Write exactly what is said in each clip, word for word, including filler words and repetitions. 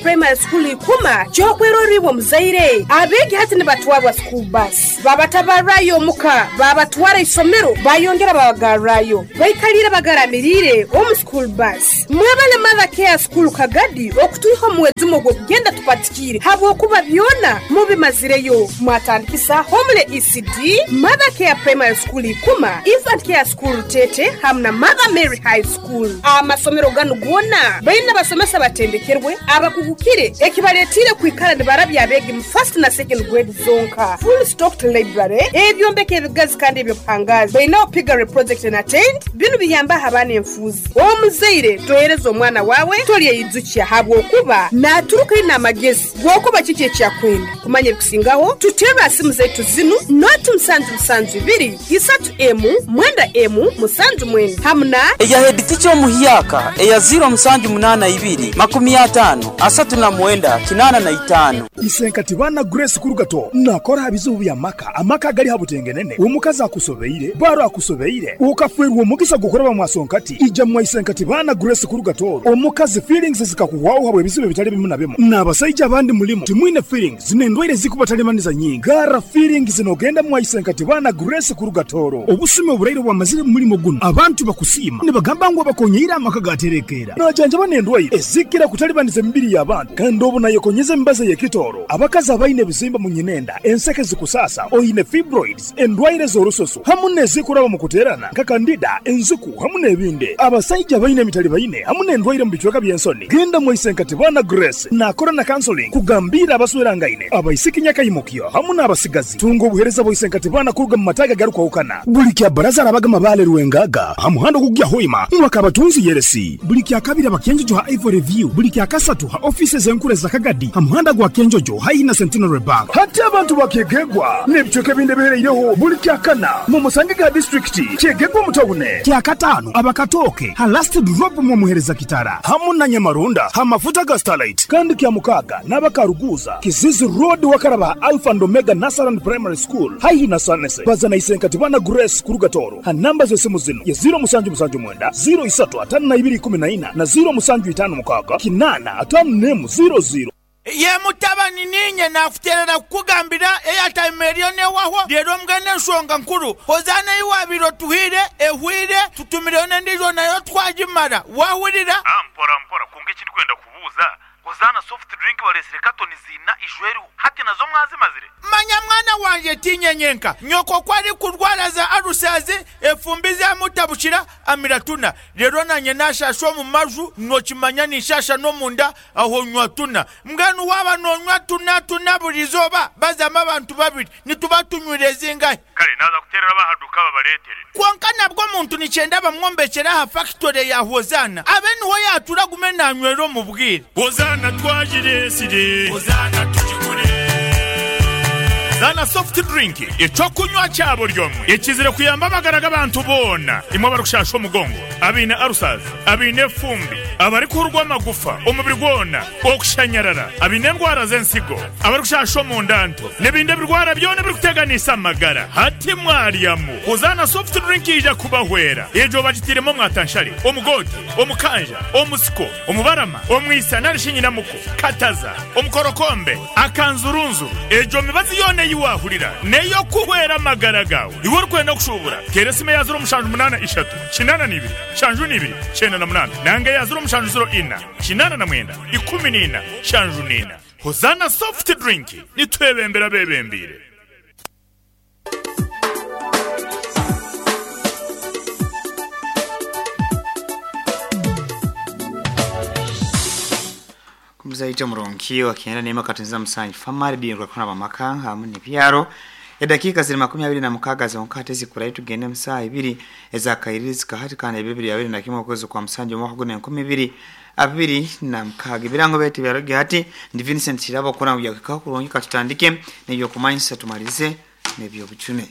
Primary School Ikuma kyokweroribwa muzaire abegi hati nibatwarwa school bus babatabarayo muka babatwara isomero bayongera babagarrayo baikalira bagaramirire omu school bus. Mwebale Mother Care School Kagadi okutuiho mwezi ogwo kugenda tupatikire habwokuba byona mubimazireyo. Mwatandikisa Homele E C D, Mother Care Primary School Ikuma, Infant Care School Tete hamna Mother Mary High School. Amasomero ganu gona baina basomesa batendekerwe abakugukire ekibaletire kwikara nibarabya abegi mu first na second grade zonka. Full stocked library ebyombeko ebigazi kandi ebyokuhangaza baina piggery project and attend binu biyamba abana enfuzi. Omuzaire tohereza omwana wawe tolye habwokuba naturuka ina amagezi gwokuba kiki ekyakwenda kumanya ebikusingaho tutera simu zetu zinu noti musanju musanju ibiri isatu emu mwenda emu musanju mwenda hamna eya head teacher omuhiyaka eya zero musanju munana ibiri makumi atano asatu na mwenda kinana na itano. Isenkati bana Grace Kurugato nakora bizibu bya maka amaka gali habutengenene omukazi akusobeire baro akusobeire ukafwerwa omugisa gukora mwasonkati ija mwa Isenkati bana Grace Kurugato omukazi feelings zikakuwaho habwe bizibu bitali bimu na bimu n'abasajja abandi mulimu timwine feelings zinendwaire zikubatalemaniza nyingi gara feelings zinogenda mwa Isenkati bana Grace Kurugatoro obusime oburaire bwamazire mulimo guno abantu bakusima nibagamba ngo bakonyeira amaka gaterekera najanja banendwaire ezikira kutalibaniza emibiri y'abantu kandi obu nayekonyeza embaza yekitoro abakazi abaine bizimba mu nyinenda enseke zikusasa oine fibroids endwaire z'orusoso hamu nezikuraba mu kuterana kakandida enzuku hamu n'ebindi abasajja baine emitali baine hamu n'endwaire mu bicweka by'ensoni genda mwa Isenkati bana Grace nakora na counseling kugambira abaswerangaine abaisiki nyakayimukyo hamu n'abasigazi tunga obuhereza bwa Isenkati bana kuruga mu mataga garukwahukana buli kya baraza arabaga mabale ruwengaga hamuhando kugya hoima mwakabatunzi yeresi buli kya kabiri abakenjojo ha Ivory View buli kya kasatu ha offices enkure za Kagadi hamuhanda gwa Kenjojo haina Centenary Bank hati abantu bakegegwa n'ebicweka binde bihereireho buli kya kana mu musange ga district kyegegwa mutawune kya katano abakatoke ha last drop mu muhereza kitara hamu na Nyamarunda ha mafuta ga Starlight kandi kya mukaga n'abakaruguza Kizizi Road wakaraba Alpha and Omega Nasaran Primary School haihi na Sanese bazana Isenkati bana Grace Kurugatoro ha namba z'esimu zino ya zero musanju musanju mwenda zero isatu atano na ibiri kumi na ina na zero musanju itano mukaga kinana atano nemu zero zero. Ye mutabani ninye nakuterera kukugambira airtime eriyo newaho rero mbwene ensonga nkuru hozana iwabiro tuhire ehwire tutumireyo n'endijo nayo twagimara wahurira. Ah, mpora mpora kunga ekindi kwenda kubuuza hozana soft drink balesire katoni zina ishweru hati nazo mwazimazire. Manya mwana wanje tinyenyenka nyoko kwari kurwara za arusazi efumbi za mutabushira amiratuna rero nanye nashasho mu maju nokimanya nishasha no munda aho nywa tuna mbwenu waba nonywa tuna tuna burizoba bazama abantu babiri nituba tunywire zingahe kale naza kuterera bahaduka babaletere konka nabwo muntu nicyenda bamwombekera ha factory ya Hozana abe niho yatura gume nanywero mu bwire Hozana twajiresire Hozana tujikure Zana soft drink ecokunywa cyabo ryomwe ekizire kuyamba amagara abantu bona imwe barukushasha omugongo abine arusaza abine fumbi abari kurwa amagufa omubiri gwona okushanyarara abine ndwara z'ensigo abari kushasha omundanto n'ebindi birwara byona birikuteganisa amagara hati mwaryamu Hozana soft drink ija kubahwera ejo bagitiremo mwatanshari omugote omukanja omusiko omubarama omwisa narishinyinamuko kataza omukorokombe akanzurunzuru ejo mibazi yone yiwahurira neyo kuhwera amagara gawe iwe urikwenda kushubura teresime ya zero mushanju munana ishatu kinana nibiri shanju nibiri chenda na munana nange ya zero mushanju zero ina kinana na mwenda ikumi nina shanju nina. Hozana soft drink nitwebembera bebembire. Mzaita muronki wakienda nema katunza msanyi famari bi rwakona bamaka hamu ni pyaro edakika ziri makumi abiri na mukaga zonkate zikurayi tugende msaa ibiri ezakairizi kahati kana ibibiri abiri na kimwe kwezi kwa msanji mwaka gune nkumi bibiri abiri na mukaga ibirango beti byaroge hati ndi Vincent Kirabo kona ujya kulongi katutandike n'ibyo kumanyisa tumalize n'ibyo bucume.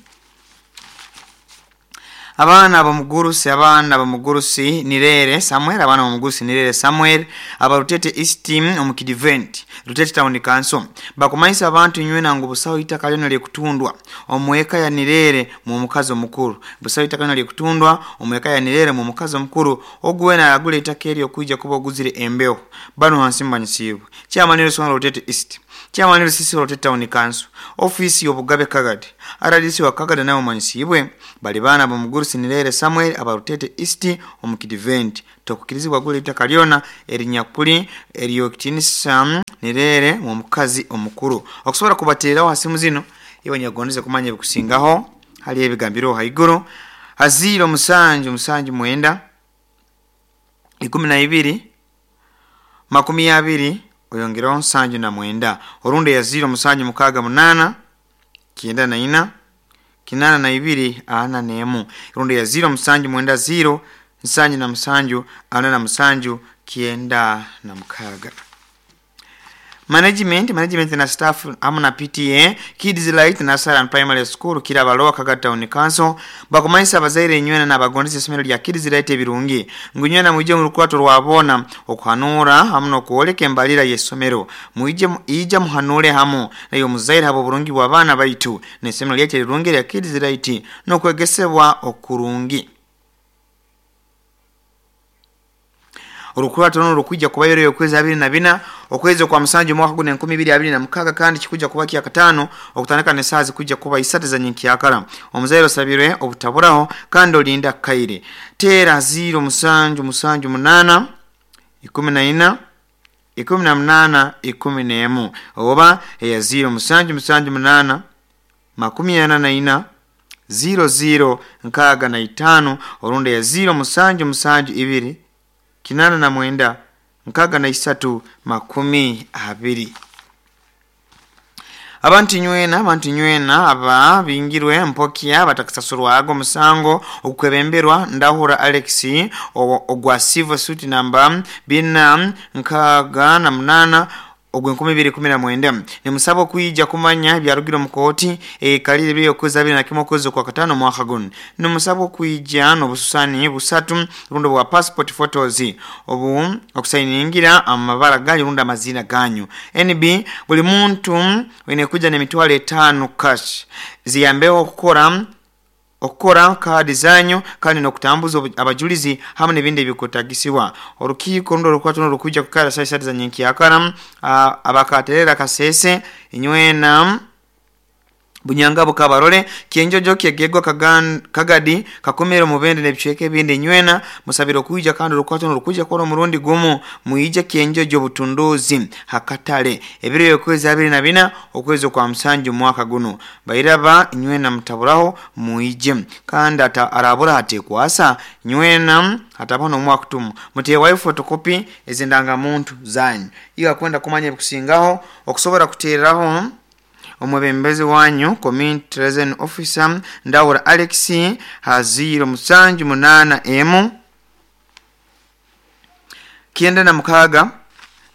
Abaana bamugurusi abaana bamugurusi Nirere Samuel abaana bamugurusi Nirere Samuel aba Rutete East omu Kidivent Rutete Town Council bakumanyisa abantu nywena ngu busaho itaka lyona lyekutundwa omweka ya Nirere mu mukazi omukuru busaho itaka lyona lyekutundwa omweka ya Nirere mu mukazi omukuru ogwena agule itaka eryo kwijja kuba oguzire embeho bano hansi mbanyisibwe chairman w'essomero Rutete East chairman w'R C C Rutete Town Council office y'obugabe Kagadi R D C wa Kagadi nayo manyisibwe bali baana bamugurusi Nirere Samuel aba Rutete East omu Kidivent tokukirizibwa gule itaka lyona erinyakuli eryokitinisa Nirere mu mukazi omukuru okusobola kubateerawo hasimu zino iwe nyagondeze kumanya ebikusingaho hali ebigambiro haiguru aziro musanju musanju mwenda ikumi na ibiri makumi abiri oyongeraho nsanju na mwenda orundi ya ziro musanju mukaga munana kienda na ina kinana na ibiri ana nemu rundi ya ziro musanju mwenda ziro nsanju na musanju ana na musanju kienda na mukaga. Management management na staff amu na P T A Kids Light Nursery and Primary School kira balowa Kagadi Town Council bakumanyisa abazaire nywena n'abagondeza essomero lya Kids Light ebirungi ngu nywena mwije mu lukwato lwabona okuhanura hamu n'okwoleka embalira y'essomero mwije ija muhanure hamu nayo muzaire habo burungi bw'abaana baitu n'essomero lyaitu erirungi lya Kids Light n'okwegesebwa okurungi. Olukwato luno lukwijja kubayo okwezi abiri na bina okwezi kwa musanju mwaka guno enkumi ibiri abiri na mukaga kandi kikujja kuba kya katano okutandika n'essaawa zikujja kuba isatu za nyenkyakara omuzaire osabirwe obutaburaho kandi olinda kaire teera ziro musanju musanju munana ikumi na ina ikumi na munana ikumi n'emu oba eya ziro musanju musanju munana makumi ana na ina ziro ziro nkaaga na itaano orundi eya ziro musanju musanju ibiri kinana na mwenda nkaga na isatu makumi abiri. Abantu nywena abantu nywena aba bingirwe mpokia batakasasurwago musango okwebemberwa Ndahura Alex ogwa civil suit namba bina nkaga na munana ogwe nkumi bibiri kumi na mwenda ni musabo kuija kumanya byarugiro mukoti e kalire byo kweza abiri na kimwe kwezi kwa katano mwaka guno ni musabo kuija no bususani busatu rundo bwa passport photos obu okusayiningira amabara ganyu runda amazina ganyu N B buli muntu wene kuja ne mitwalo etano cash ziyambeho okukora okukora kadi zanyu kandi nokutambuza abajulizi hamwe n'ebindi ebikutagisiwa orukiiko rundo rukwato n'orukuja kukara saa satu za nyenkyakara abakaterera kasese inywena Bunyangabo kabarole kienjojo kyegegwa Kagadi kakomero mubende n'ebicweka ebindi nywena musabiro kuija kandi rukwato n'orukuja kora omurundi gumu muije kienjojo butunduzi hakatale ebiro yokwezi abiri na bina okwezi kwa musanju mwaka guno bairaba nywena mutaburaho muije kandi ata arabura hatekwasa nywena hatabona omwaka tumu mutewayo photocopy ezindanga muntu zanyu iyo akwenda kumanya ebikusingaho okusobola kuteeraho omwebembezi wanyu community liaison officer Ndahura Alex haziro musanju munana emu kienda na mukaga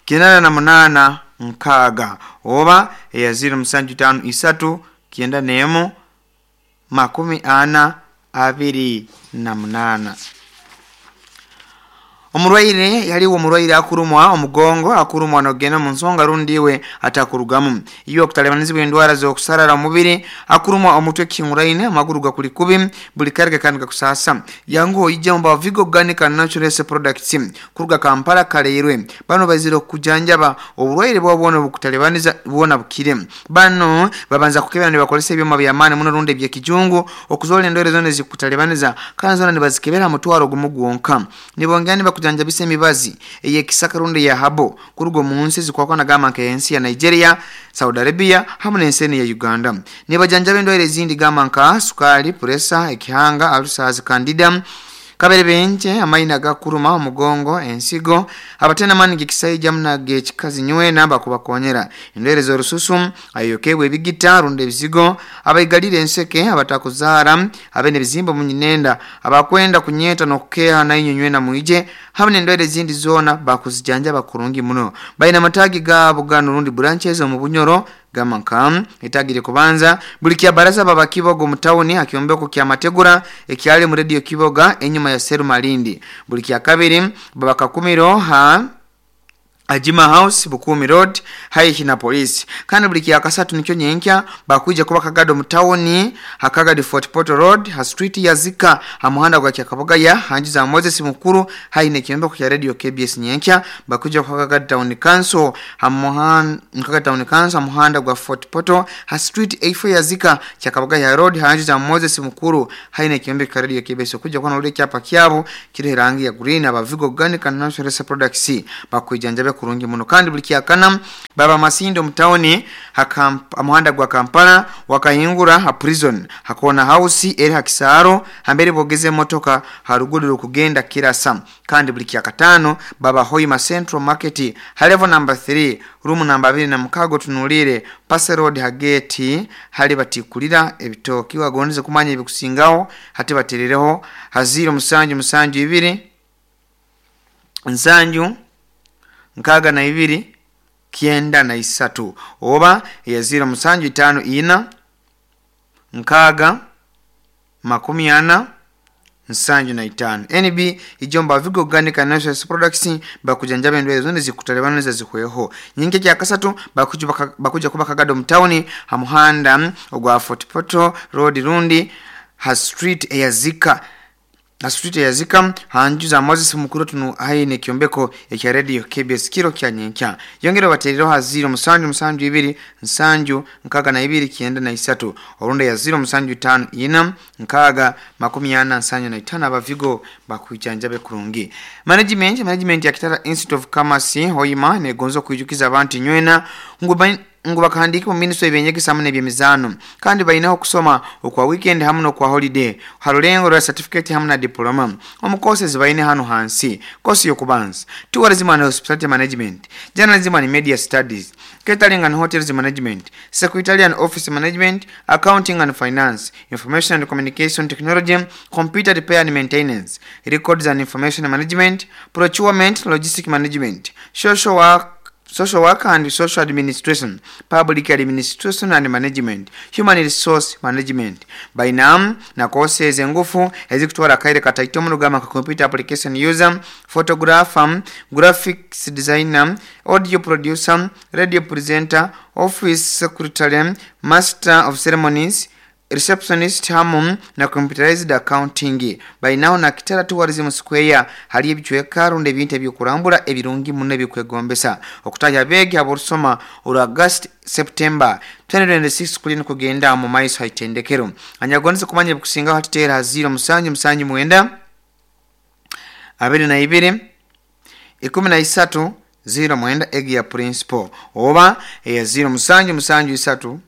kienda na munana nkaga oba eya ziro musanju tano isatu kienda nemu makumi ana abiri na munana. Omurwaire yaliwo omurwaire akurumwa omugongo akurumwa nogenda mu nsonga rundiwe atakurugamu iyo okutalebanizibwa endwara z'okusarara omubiri akurumwa omutwe kinguraine amaguru gakuli kubi buli karge kandi gakusasa yangu ojja mu Vigo Organic and Natural Products kuruga Kampala kaleirwe bano bazira okujanjaba obulwaire bwabona obukutalebaniza bwona bukire bano babanza kukebera ne bakolesa ebyoma byamaani muno runde ebyekijungu okuzola endwere zonna ezikutalebaniza kandi zonna ne bazikebera mutwaro gumu gwonka nibongera kujanjabisa emibazi eyekisaka rundi ya habo kurugo mu nsi zikwakwana gamba nka ensi ya Nigeria, Saudi Arabia hamwe n'ensi ya Uganda nibajanjaba endwaire ezindi gamba nka sukali, puresa, ekihanga, ulcers, candida, kabere benche amaina gakuruma omugongo, ensigo abatena mani gikisaija muna gekikazi nywena bakubakonyera endwaire z'orususu ayokebwe ebigita rundi ebizigo abaigalire enseke abatakuzara abene bizimba munyinenda abakwenda kunyeta n'okukeha nainyo nywena muije hamwe n'endwaire ezindi zona bakuzijanja bakurungi muno baina matagi gabo gano rundi branches omu Bunyoro, Gamba nka itagire kubanza buli kya baraza baba Kibogo mu town akyombeko kya Mategura ekyali mu radio Kiboga enyuma ya Seru Malindi. Buli kya kabiri baba Kakumiro ha Ajima House Bukumi Road haihi na polisi. Kandi buli kya kasatu nikyo nyenkya bakuja kuba Kagado mu town hakagadi Fort Portal Road ha street ya Zika ha muhanda gwa Kyakaboga ya hanji za Moses Mukuru haihi ne kyombeko kya radio K B S nyenkya bakuja kuba Kagado Town Council ha muhanda Kagado Town Council muhanda gwa Fort Portal ha street A four ya Zika Kyakaboga ya Road hanji za Moses Mukuru haihi ne kyombeko kya radio K B S kuja kwa nole kyapa kyabo kiri rangi ya green abavigo organic and natural products bakujanjabe kurungi muno. Kandi buli kyakana baba Masindo mutaoni hamuhanda gwa Kampala wakahingura ha prison hakona house eri hakisaro hambere bogeze motoka haruguru kugenda kirasa. Kandi buli kyakatano baba Hoima Central Market ha level number three room number abiri na mukago tunulire Pass Road hageti hali batikulira ebitoki wagondeze kumanya ebikusingaho hati baterereho haziro musanju musanju ibiri nsanju nkaga na ibiri kienda na isatu oba ya zero musanju itano ina nkaga makumi ana nsanju na itano. N B ijomba Vigo Organic and Natural Products bakujanjabe ndwele zone zikutalebana za zikweho nyingi kya kasatu bakuja bakuja kuba Kagado mtauni hamuhanda ogwa Fort Portal Road rundi ha street ya Zika na street ya Zika hanju za Moses Mukuru tunu haine kyombeko ya radio K B S kiro kya nyenkya yongero baterero ha zero musanju musanju ibiri nsanju nkaga na ibiri kienda na isatu orunda ya zero musanju tano ina nkaga makumi ana nsanju na itano abavigo bakujanjabe kurungi. Management management ya Kitara Institute of Commerce Hoima negonzo kuijukiza abantu nywena ngu ngu bakahandika mu ministry ebenyegesa hamwe n'ebyemizano kandi balinaho okusoma okwa weekend hamwe n'okwa holiday harulengo rwa certificate hamwe na diploma omu courses baine hano hansi. Course yokubanza tourism and hospitality management, journalism and media studies, catering and hotels management, secretarial and office management, accounting and finance, information and communication technology, computer repair and maintenance, records and information management, procurement, logistic management, social work social work and social administration, public administration and management, human resource management. Bainam na courses engufu ezikutwara kaire kataito mu rugamba ka computer application user, photographer, graphics designer, audio producer, radio presenter, office secretary, master of ceremonies, receptionist hamu na computerized accounting. Bainaho na Kitara Tourism Square hali ebichweka runde ebintu ebyokurambura ebirungi muno ebikwegombesa okutaya begi aborusoma olwa August September twenty twenty-six kulini kugenda mu maiso haitendekero. Anyagonze kumanya ebikusingaho hatitera zero musanju musanju mwenda abiri na ibiri ikumi na isatu zero mwenda egi ya principal oba ya zero musanju musanju isatu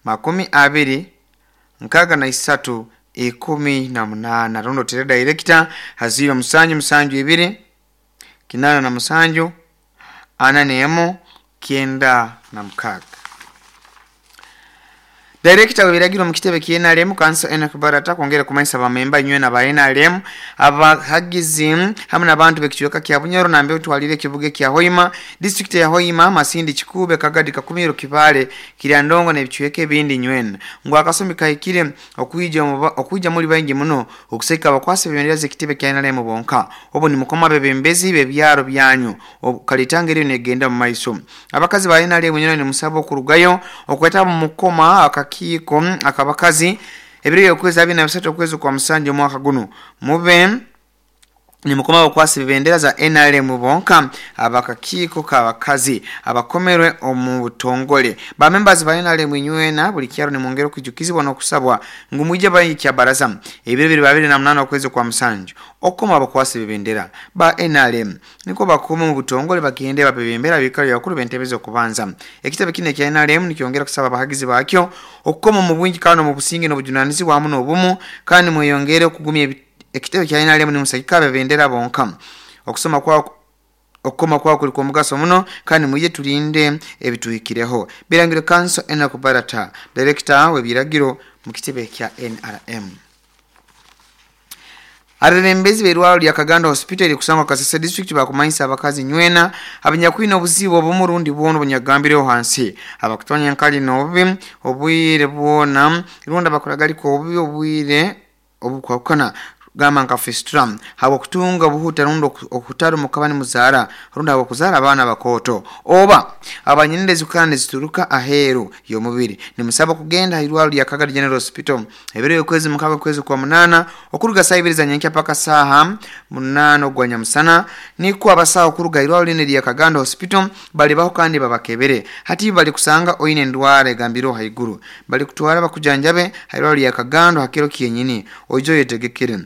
makumi abiri nkaga na isatu ikumi na munana. Rondo tere director haziro musanju musanju ibiri kinana na musanju anane emo kienda na mkaga. Director webiragiro mu kitebe ki N R M Council Enoch Barata kwongera kumanyisa abamemba nywe na ba N R M abahagizi hamwe n'abantu bekichweka kya Bunyoro nambe utwalire kibuge kya Hoima district ya Hoima Masindi Kikube Kagadi Kakumiro Kibale Kiryandongo n'ebichweka ebindi nywena ngo akasombi kahikire okuija okuija muri bangi muno okuseka abakwase bibendera zekitebe kya N R M bonka obo ni mukoma bebembezi bebyaro byanyu kalitanga eri negenda mu maiso abakazi ba N R M nyene ni musabo okurugayo okweta mu mukoma akaki kiko akabakazi ebiri yokwezi abiri na bisatu okwezi kwa musanje mwaka guno mube ni mukoma okwasi bibendera za N R M bonka abakakiko kabakazi abakomerwe omu butongole ba members ba N R M nywena buli kyaro ni mwongero kujukizibwa no kusabwa ngumuje bayi kya baraza ebiri bibiri babiri na munana okwezi kwa musanje okoma abakwasi bibendera ba N R M niko bakoma mu butongole bagende babebembera bikali yakuru bentebezo kubanza ekitebe kine kya N R M nikyongera kusaba abahagizi bakyo okukoma mu bwingi kano mu businge no bujunanizi wamu n'obumu kandi mweyongere okugumya ekitebe kya N R M ni musakika bebendera bonka okusoma kwa okukoma kwa kuli kwa mugaso muno kandi muje tulinde ebituhikireho. Birangiro Council Enoch Barata director w'ebiragiro mu kitebe kya N R M. Abebembezi b'erwaro lya Kagando Hospital erikusangwa Kasese district bakumanyisa abakazi nywena abanyakwine obuzibu obumurundi bwona obunyagambireho hansi abakutonya nkali n'obubi obwire bwona rundi abakuragaliko obubi obwire obukwakana gamba nka fistula habwokutunga obuhuta rundi okutara mukabani muzaara rundi habwokuzara abaana bakoto oba abanyinire zikana zituruka aheru y'omubiri. Nimusaba kugenda hairwaro lya Kagadi General Hospital ebiro y'okwezi mukaga kwezi kwa munana okuruga saa ibiri za nyenkya paka saha munana ogwa nyamusana niko abasawo okuruga irwaro line lya Kagando Hospital bali baho kandi babakebere hati bali kusanga oine ndwara egambiro haiguru bali kutwara bakujanjabe hairwaro lya Kagando hakiro kiyenyini oijo yetegekere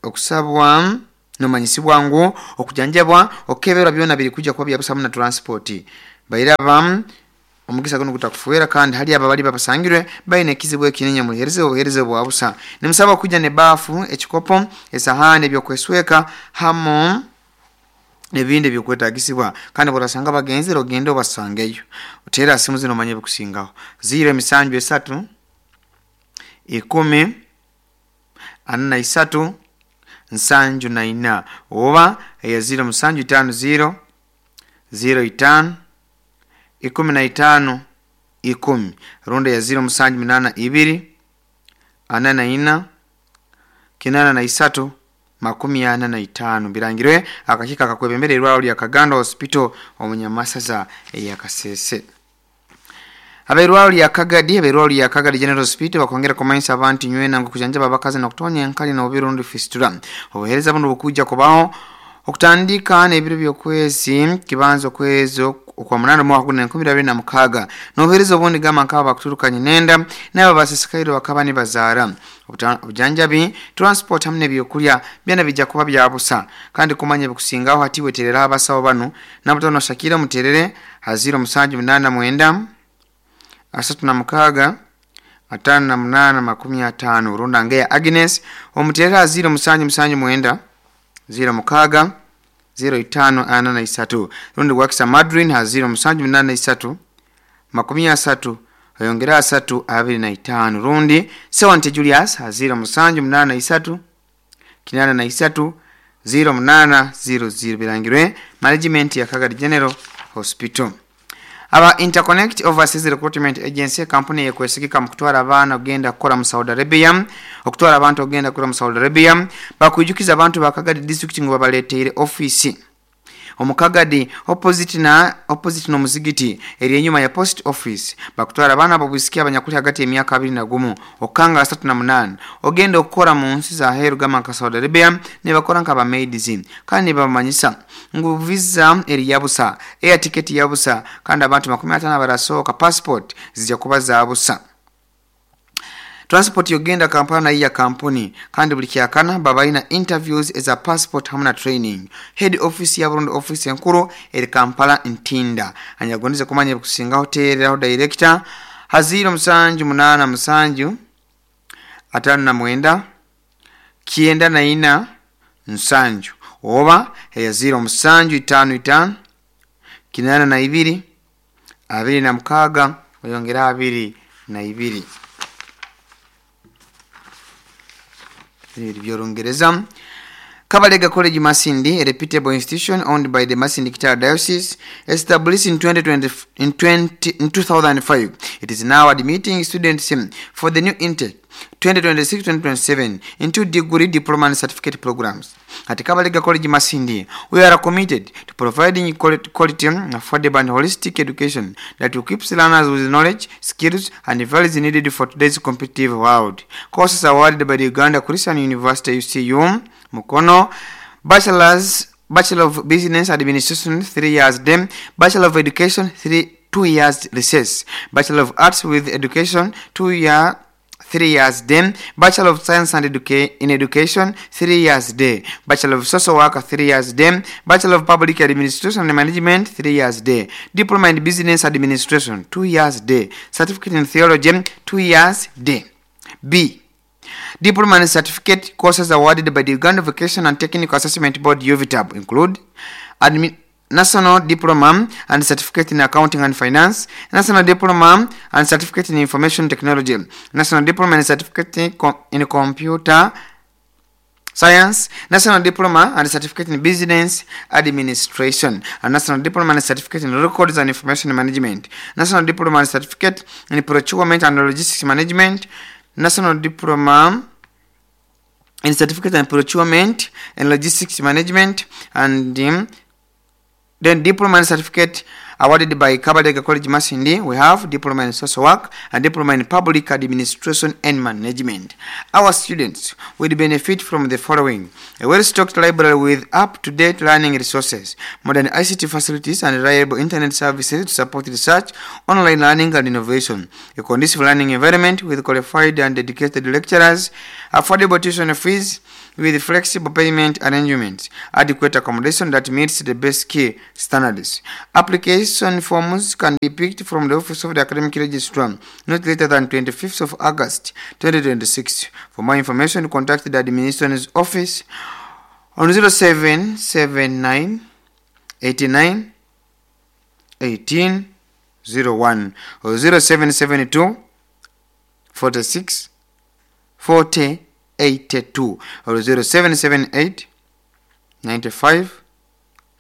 okusabwa nomanyisibwa ngu okujanjabwa okeberwa byona biri kujja kuba byabusamu na transport bairaba omugisa guno gutakufuera kandi hali aba bali babasangirwe baine ekizibu ekinenya muhereze obuhereze bwa busa. Nimusaba kujja ne bafu ekikopo esahani ebyokwesweka hamo nebindi byokwetagisibwa kandi borasanga bagenzi rogende obasangeyo utera simu zino manye bikusingaho ziro emisanju esatu ikumi ana na isatu nsanju na ina oba eya ziro musanju itano ziro ziro itano ikumi na itano ikumi rundi ya ziro musanju minana ibiri ana na ina kinana na isatu makumi ana na itano. Birangirwe akakika akakwebembere irwaro lya Kagando Hospital omunyamasaza eya Kasese. Abairwaro lya Kagadi abairwaro lya Kagadi General Hospital bakongera kumanyisa abantu nywena ngo kujanjaba abakazi n'okutonya enkali n'oburundi fistula. Obuhereza buno bukujja kubaho okutandika n'ebiro by'okwezi kibanzo kwezo okwa munana mwaka guna enkumi abiri na mukaga n'obuhereza obundi gamba nk'aba bakuturukanye nenda n'aba basisikaire bakaba nibazaara. Obujanjabi transport hamwe n'ebyokulya byana bijja kuba bya busa kandi kumanya bikusingaho hati weterera abasawo bano nabutono Shakira muterere haziro musanju munana mwenda asatu na mukaga atano na munana makumi atano runda ngeya Agnes omuterera ziro musanju musanju mwenda ziro mukaga ziro itano ana na isatu rundi wakisa Madrin ha ziro musanju munana isatu makumi asatu oyongera asatu abiri na itano rundi Sewante Julius ha ziro musanju munana isatu kinana na isatu ziro munana ziro ziro. Birangirwe management ya Kagadi General Hospital. Aba Interconnect Overseas Recruitment Agency kampuni yekwesigika mu kutwara abaana ogenda kukola mu Saudi Arabia okutwara abantu ogenda kukola mu Saudi Arabia bakujukiza abantu ba Kagadi district ngo babaleteire office omukagadi opposite na opposite no muzigiti eri enyuma ya post office bakutwara abaana babwisikia abanyakuli hagati emyaka abiri na gumu okanga asatu na munana ogenda okukola mu nsi za heru gama nka Saudi Arabia ne bakora nka bamaids kandi bamanyisa ngu visa eri yabusa air ticket yabusa kandi abantu makumi atano barasoka passport zijja kuba za busa. Transport yogenda Kampala na iya kampuni kandi buli kyakana babaina interviews as a passport hamna training. Head office ya Burundi office enkuru eri Kampala Ntinda. Anyagonize kumanya kusinga hotel aho director haziro musanju munana musanju atano na mwenda kienda na ina nsanju oba eya ziro musanju itano itano kinana na ibiri abiri na mukaga oyongera abiri na ibiri. By'Olungereza. Kabalega College Masindi, a reputable institution owned by the Masindi Kitara Diocese, established in twenty twenty, in twenty, in two thousand five. It is now admitting students for the new intake twenty twenty-six twenty twenty-seven into degree, diploma and certificate programs. At Kabalega College Masindi, we are committed to providing quality, affordable and holistic education that equips learners with knowledge, skills and values needed for today's competitive world. Courses awarded by the Uganda Christian University U C U, Mukono, Bachelor's, Bachelor of Business Administration, three years then, Bachelor of Education, three, two years recess, Bachelor of Arts with Education, two years, three years then, Bachelor of Science and Educa- in Education, three years day, Bachelor of Social Work, three years day, Bachelor of Public Administration and Management, three years day, Diploma in Business Administration, two years day, Certificate in Theology, two years day. B. Diploma and Certificate courses awarded by the Uganda Vocation and Technical Assessment Board U V T A B include Admi- National Diploma and Certificate in Accounting and Finance, National Diploma and Certificate in Information Technology, National Diploma and Certificate in, Com- in Computer Science, National Diploma and Certificate in Business Administration, and National Diploma and Certificate in Records and Information Management, National Diploma and Certificate in Procurement and Logistics Management, National Diploma in Certificate in Procurement and Logistics Management, and um, then Diploma and Certificate awarded by Kabalega College Masindi. We have Diploma in Social Work and Diploma in Public Administration and Management. Our students will benefit from the following: a well-stocked library with up-to-date learning resources, modern I C T facilities and reliable internet services to support research, online learning and innovation, a conducive learning environment with qualified and dedicated lecturers, affordable tuition fees with flexible payment arrangements, adequate accommodation that meets the best key standards. Application forms can be picked from the Office of the Academic Registrar not later than twenty-fifth of August twenty twenty-six. For more information, contact the Administration's office on zero seven seven nine eighty-nine eighteen zero one or zero seven seven two forty-six forty eighty-two or zero seven seven eight ninety-five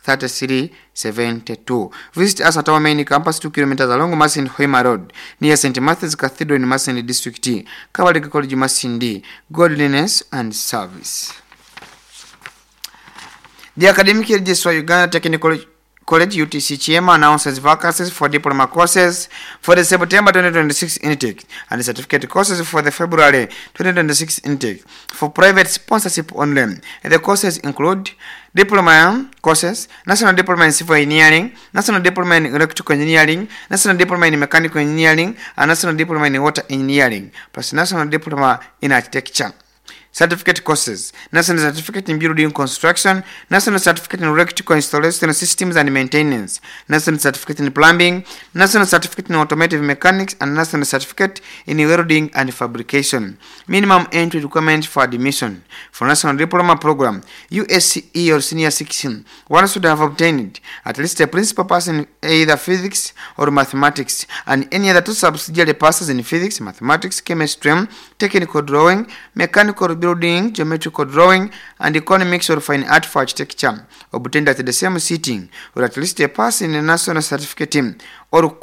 thirty-three seventy-two. Visit us at our main campus, two kilometers along Masindi Hoima Road, near Saint Matthew's Cathedral in Masindi District, Kabalega College Masindi. Godliness and service. The Academic Registrar, Uganda Technical College U T C Kyema announces vacancies for diploma courses for the September twenty twenty-six intake and certificate courses for the February twenty twenty-six intake for private sponsorship only. The courses include diploma courses, National Diploma in Civil Engineering, National Diploma in Electrical Engineering, National Diploma in Mechanical Engineering, and National Diploma in Water Engineering, plus National Diploma in Architecture. Certificate courses, National Certificate in Building Construction, National Certificate in Electrical Installation Systems and Maintenance, National Certificate in Plumbing, National Certificate in Automotive Mechanics, and National Certificate in Welding and Fabrication. Minimum entry requirement for admission for National Diploma Program, U S C E or Senior sixteen, one should have obtained at least a principal pass in either physics or mathematics and any other two subsidiary passes in physics, mathematics, chemistry, technical drawing, mechanical building, geometrical drawing, and economics or fine art for architecture, obtained at the same sitting, or at least a pass in a national certificate or,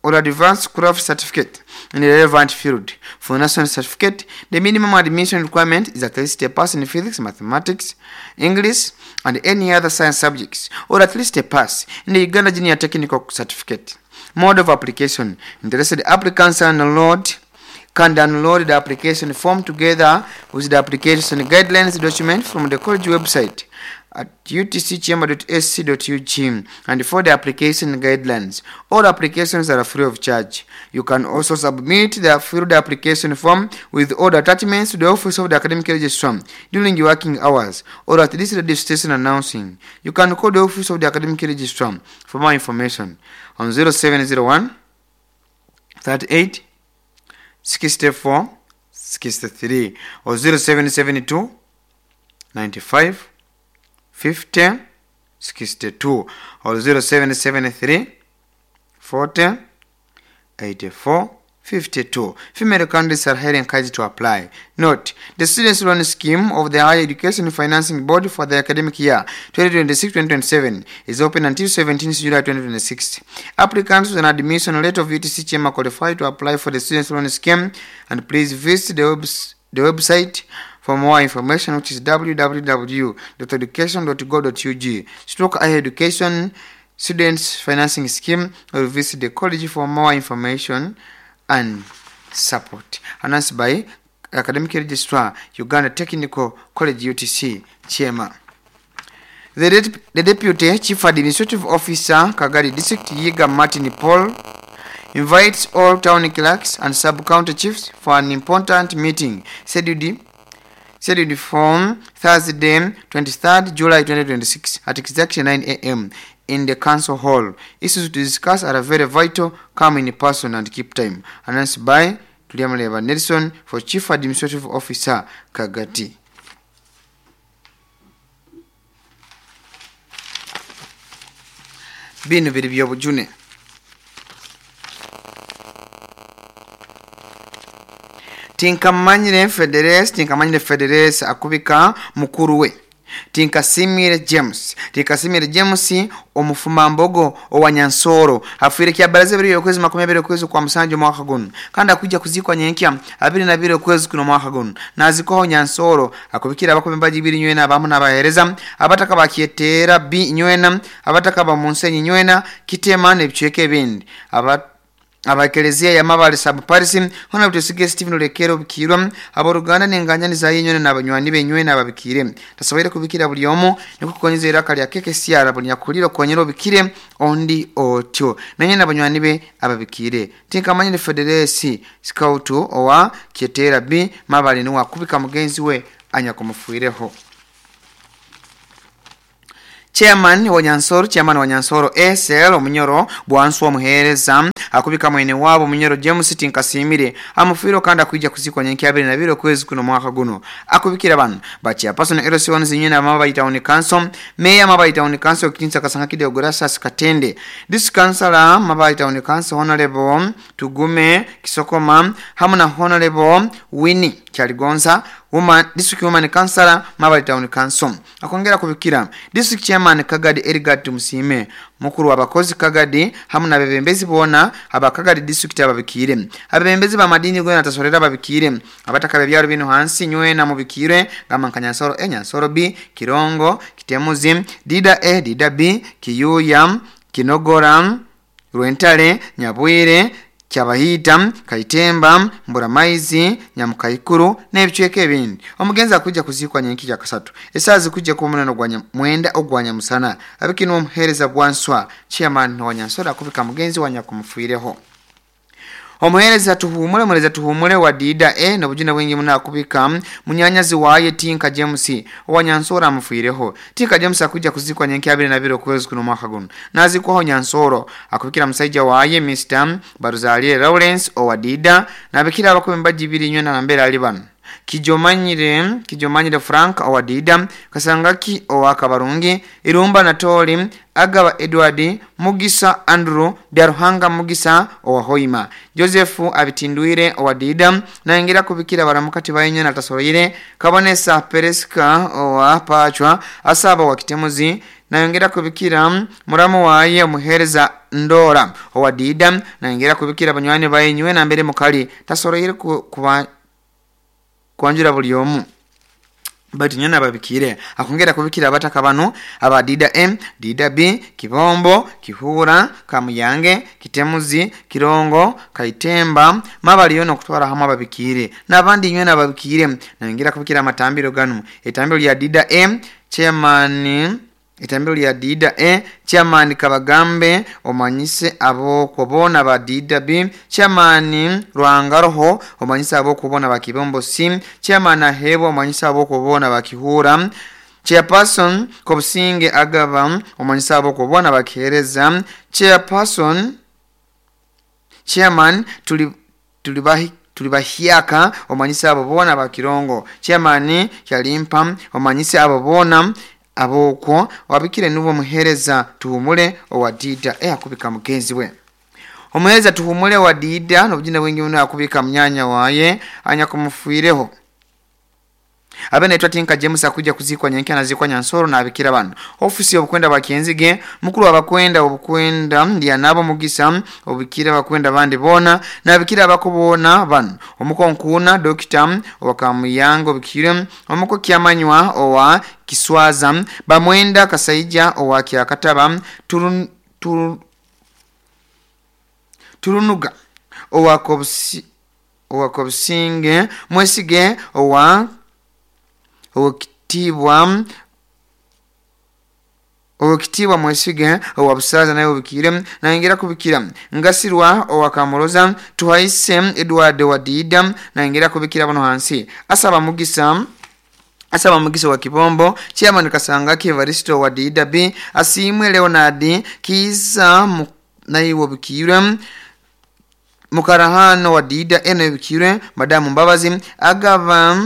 or advanced craft certificate in the relevant field. For national certificate, the minimum admission requirement is at least a pass in physics, mathematics, English, and any other science subjects, or at least a pass in the Uganda Junior Technical Certificate. Mode of application: interested applicants are enrolled can download the application form together with the application guidelines document from the college website at u t c kyema dot a c dot u g and for the application guidelines. All applications are free of charge. You can also submit the filled application form with all the attachments to the Office of the Academic Registrar during your working hours or at this radio station announcing. You can call the Office of the Academic Registrar for more information on zero seven zero one thirty-eight sixty-four sixty-three or zero seven seven two ninety-five fifty sixty-two or zero seven seven three forty eighty-four fifty-two. Female candidates are highly encouraged to apply. Note, the Students' Loan Scheme of the Higher Education Financing Board for the academic year twenty twenty-six twenty twenty-seven is open until seventeenth July twenty twenty-six. Applicants with an admission letter of U T C Kyema qualify to apply for the Students' Loan Scheme, and please visit the, webs the website for more information, which is w w w dot education dot gov dot u g stroke higher education Students Financing Scheme, or visit the college for more information and support. Announced by Academic Registrar, Uganda Technical College U T C, Kyema. The, De the Deputy Chief Administrative Officer, Kagadi District, Yiga Martin Paul, invites all town clerks and sub-county chiefs for an important meeting scheduled scheduled for Thursday, twenty-third July twenty twenty-six at exactly nine A M in the council hall. Issues to discuss are very vital. Come in person and keep time. Announced by Tuliamleva Nelson for Chief Administrative Officer, Kagati. Bino biri byobujune. Tinkamanyire Federes Tinkamanyire Federes akubika mukuru we Tinkasimire James Tinkasimire James omufumambogo owanyansoro afwire kyabaraze biri okwezi makumi abiri okwezi kwa musanju mwaka guno kandi akujja kuzikwa nyenkya abiri na biri okwezi kuno mwaka guno nazikoho nyansoro akubikira abakombe biri nywena abamu nabahereza abataka bakyetera bi nywena abataka ba munsenyi nywena kitema nebicweke ebindi aba abakelezia ya Mabale sub Paris hona butusige Stephen Lekero bikirwa aboruganda nenganya za yenywena nabanywani benywena ababikire tasoboire kubikira buli omu nikukonyeza iraka lya keke siara buli nyakuliro konyero bikire ondi otyo nanye nabanywani be ababikire Tinkamanyire Federesi scout owa Kyetera B Mabale ni wakubika mugenzi we anyakumfuireho. Chairman wa Nyansoro Chairman wa Nyansoro S L Omunyoro bwansu omuhereza akubika mwene wabo Munyoro James Tinkasimire amufiro kandi akwijja kuzikwa nyenki abiri na biro kwezi kuno mwaka guno akubikira bano bacha person L C one zinyena Mabale Town Council Mayor Mabale Town Council Kinsa Kasanga Kide Ogurasa Katende This Councilor Mabale Town Council Honorable Tugume Kisokoma hamu na Honorable Winnie Kyaligonza Woman District Woman Councilor Mabale Town Council akongera kubikira District Chairman Kagadi Erigad Musime mukuru abakozi Kagadi hamu na bebembezi bona abakagadi district ababikire abebembezi ba madini gwe natasorera babikire abataka byaro bino hansi nywe na mubikire gama Nyansoro E Nyansoro B Kirongo Kitemuzi Dida E Dida B Kiyuya Kinogora Rwentale Nyabwire Kyabahita Kaitemba Mburamaizi Nyamukaikuru n'ebicweke ebindi. Omugenzi akujja kuzikwa nyenki ya kasatu esazi kujja ku munano gwa mwenda ogwanya musana abikino omuhereza bwanswa chairman wa Nyansoro akubika mugenzi wa nyakumfuireho. Omuhereza tuhumule mureza tuhumule wa Dida E nobujina bwingi muna akubika munyanyazi waye Tinka James wa Nyansoro amufuireho. Tinka James akujja kuzikwa nyenki abiri na biro kwezi kuno mwaka guno nazikwaho Nyansoro akubikira musaija waye Mister Baruzalie Lawrence owa Dida nabikira abakombe bajibiri nywena na mbere ali bano Kijomanyire Kijomanyire Frank owa Dida Kasangaki owa Kabarungi Irumba Natoli Agaba Edward Mugisa Andrew Byaruhanga Mugisa owa Hoima Joseph Abitindwire owa Dida naingira kubikira baramukati bayenye na tasoroire Kabonesa Pereska owa Pachwa Asaba wa Kitemuzi nayongera kubikira muramu waye muhereza Ndora owa Dida nayongera kubikira banywani bayenywe na mbere mukali tasoroire kuba kwanjura buli omu bati nyana babikire akongera kubikira abataka bano aba Dida M Dida B Kibombo Kihura Kamuyange Kitemuzi Kirongo Kaitemba Mabali yono kutwara hamwe babikire nabandi nywe nababikire nayongera kubikira amatambiro gano etambiro lya Dida M chairman etambiro lya Dida E chairman Kabagambe omanyise abo kubona ba Dida B chairman Rwangaroho omanyise abo kubona ba Kibombo C chairman Ahebo omanyise abo kubona ba Kihura chairperson Kobusinge Agaba omanyise abo kubona ba Kihereza chairperson chairman tuli tulibahi tulibahiaka omanyise abo bona ba Kirongo chairman Kyalimpa omanyise abo bona aboko wabikire nubo muhereza tuhumule owa Dida e akubika mugenzi we omuhereza tuhumule wa Dida nobujina bwingi muno akubika mnyanya waye anya kumufuireho Abene etwa Tinka James akuja kuzikwa nyenki anazikwa Nyansoro na abikira bano ofisi obukwenda bakenzige mukuru abakwenda obukwenda ndiya nabo Mugisa obikira bakwenda bandi bona na abikira abakubona bano omuko nkuna Dokita owakamuyango obikire omuko kyamanywa owa Kiswaza bamwenda Kasaija owa Kyakataba turun tur, turunuga owa Kobusi owa Kobusinge Mwesige owa Owekitibwa Owekitibwa Mwesige owa Busaza naye obikire nayongera kubikira Ngasirwa owa Kamuroza Tuhaise Edward wa Dida nayongera kubikira bano hansi Asaba Mugisa Asaba Mugisa wa Kibombo Chairman Kasangaki Evaristo wa Dida B Asimwe Leonard Kiza naye obikire Mukarahano wa Dida eno obikire Madamu Mbabazi Agaba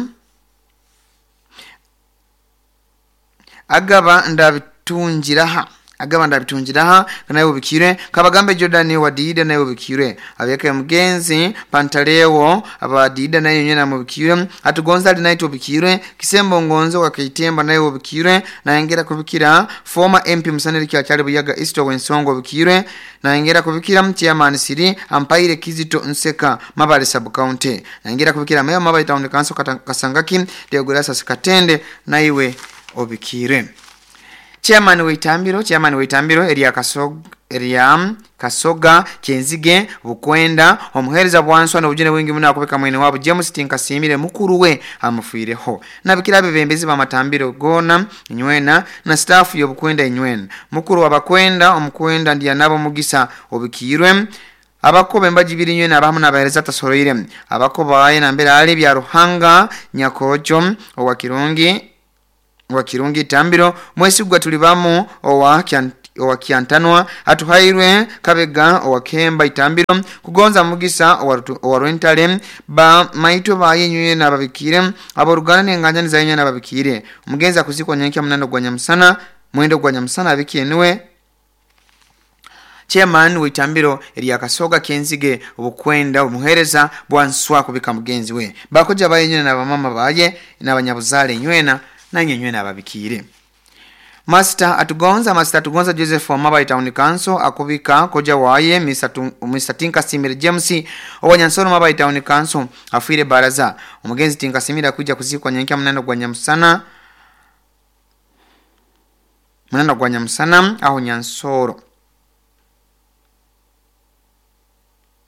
Agaba ndabitunjiraha Agaba ndabitungiraha naye ubikire kabagambe Jordan wa Dida naye ubikire abeka mugenzi Pantalewo aba Dida naye nyena mubikire atugonza ali naye ubikire Kisembo ngonzo wa Kaitemba naye ubikire naengera kubikira former M P Musaneri Kyachali Buyaga East Wensongo ubikire naengera kubikira chairman Siri Ampaire Kizito Nseka Mabale sub county naengera kubikira mayor Mabale town council Kasangaki Deograsa Skatende naiwe obikire Chairman Waitambiro, Chairman Waitambiro, area Kasoga, area Kasoga, Kenzige, Bukwenda, omuhereza bwanswa na ujene wingi muna akubeka mwene wabo James Tinkasimire mukuru we amufireho. Nabikira bebembezi ba matambiro gona inywena na staff yo Bukwenda inywena. Mukuru wabakwenda omukwenda ndiya nabo mugisa obikirwe. Abakobe mbajibiri nywena abamu nabahereza tasoroire. Abakoba baye na mbere ali bya Ruhanga Nyakojo owa Kirungi wa Kirungi Tambiro mwesigwa tulibamu owa owa Kiantanwa atuhairwe Kabega owa Kemba Itambiro kugonza mugisa owa Rwentale ba maito baye na babikire aborugana n'enganya nzaye na babikire umugenza kuzikwa nyenkia munando gwa Nyamusana mwendo gwa Nyamusana abikienwe Chairman Waitambiro eri Kasoga Kenzige obukwenda omuhereza bwanswa kubika mugenzi we bakoja baye na bamama baye n'abanyabuzale nywena na nywena ababikire. Master atugonza Master atugonza Joseph wa Mabale Town Council akubika koja waye Mister Tinkasimire James owanyansoro Mabale Town Council afire baraza omugenzi Tinkasimire kuja kuzikwa nyenkia munando gwa Nyamusana munando gwa Nyamusana aho Nyansoro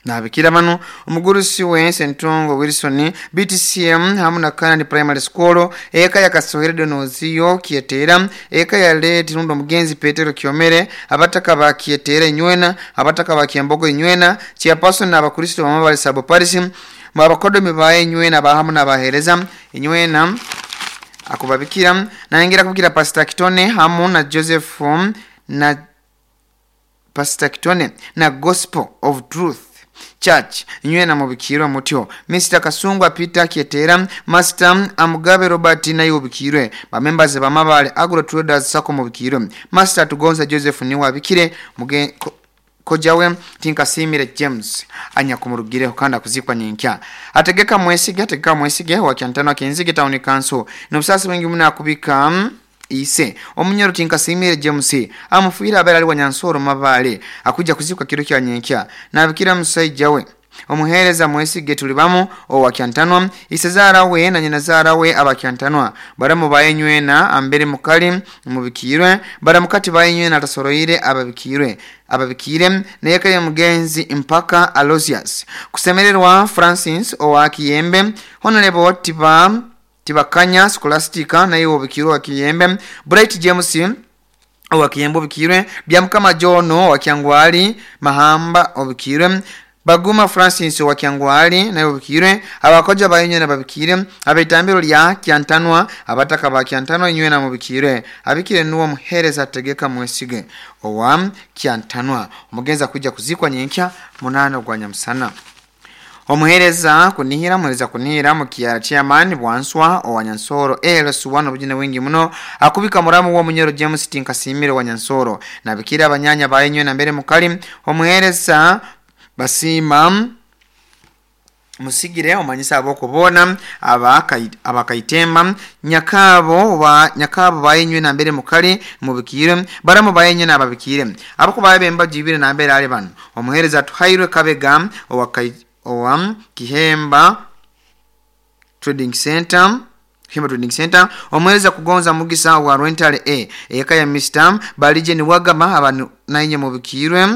Nabikira bano omugurusi we Sentongo Wilson B T C M hamu na Kanani Primary School eka ya Kasohere Donoziyo Kietera eka ya Leti Rundo mugenzi Petero Kiomere abataka ba Kietera inywena abataka ba Kiambogo inywena chairperson na abakristo ba Mabale Sub Parish abakodomi baye inywena bahamu na bahereza inywena akubabikira naingira kubikira Pastor Kitone hamu na Joseph na Pastor Kitone na Gospel of Truth Church nywena mubikirwa mutyo Mister Kasungwa Peter Kietera Master Amugabe Robert nayo ubikirwe ba members ba Mabale Agro Traders Sacco mubikirwe Master Tugonza Joseph ni wabikire muge ko, kojawe Tinkasimire James anyakumurugire kanda kuzikwa nyinkya ategeka mwesige ategeka mwesige wa Kyantano Kenzige Town Council nobusasi wengi muna kubika ise omunyoro Tinkasimire James amufuira abera ali wa Nyansoro Mabale akuja kuzikwa kiro kya nyenkya nabikira musajja we omuhereza mwesige tulibamu owa Kyantanwa isezara we na nyina zara we abakyantanwa baramu bayenywena ambere mukali mubikirwe baramukati bayenywena atasoroire ababikirwe ababikire neyeka ya mugenzi mpaka Aloysius kusemererwa Francis owa Kiyembe Honorable Tiba Tibakanya Scholastica naye obikirwa Kiyembe Bright James owa Kiyembe obikirwe Byamukama John owa Kyangwali Mahamba obikirwe Baguma Francis owa Kyangwali naye obikirwe abakoja bayenye na babikire abetambiro lya Kyantanwa abataka ba Kyantanwa inywe na mubikire abikire nuwo muhereza tegeka mwesige owa Kyantanwa omugenza kuja kuzikwa nyenkya munano gwa Nyamusana Omuhereza kunihira muhereza kunihira mukiara chairman bwanswa owa Nyansoro L S one obujine wingi muno akubika muramu wa munyoro James Tinkasimire wa Nyansoro nabikira abanyanya bayenywe na mbere mukali omuhereza basima musigire omanyisa abokubona abakaitemba nyakabo wa nyakabo bayenywe na mbere mukali mubikire baramu bayenywe nababikire abakubaye bemba jibire na mbere ali bano omuhereza tuhairwe Kabega owa owa Kihemba Trading Center Kihemba Trading Center omweza kugonza mugisa wa Rental A eka ya Mister Balije ni wagama abantu nainye mubikirwe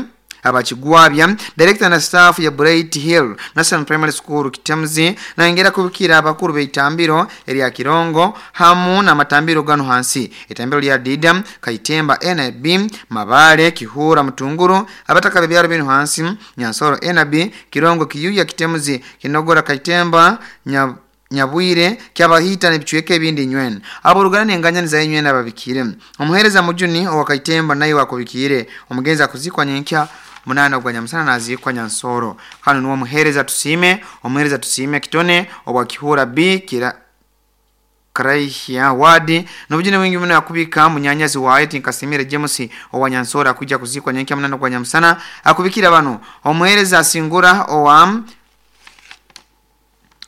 abachigwabya director na staff ya Bright Hill National Primary School Kitamzi na ingera kubikira abakuru beitambiro eri Kirongo hamu na matambiro gano hansi itambiro lya Dida Kaitemba N B Mabale Kihura Mutunguru abataka bebyaro bino hansi Nyansoro N B Kirongo Kiyuya Kitemzi Kinogora Kaitemba nya Nyabwire kyabahita nebichweke ebindi nywena aborugana nenganya nzaye nywena babikire omuhereza mujuni owakaitemba naye wakubikire omugenza kuzikwa nyenkya munana gwa Nyamusana nazikwa Nyansoro hano nuwo muhereza tusime omuhereza tusime Kitone obwa Kihura B kira Karaihia wadi nobujine wingi muno akubika munyanyazi waye tinkasimire James owanyansora kuja kuzikwa nyenkia munano kwa nyamusana akubikira bano omuhereza asingura owa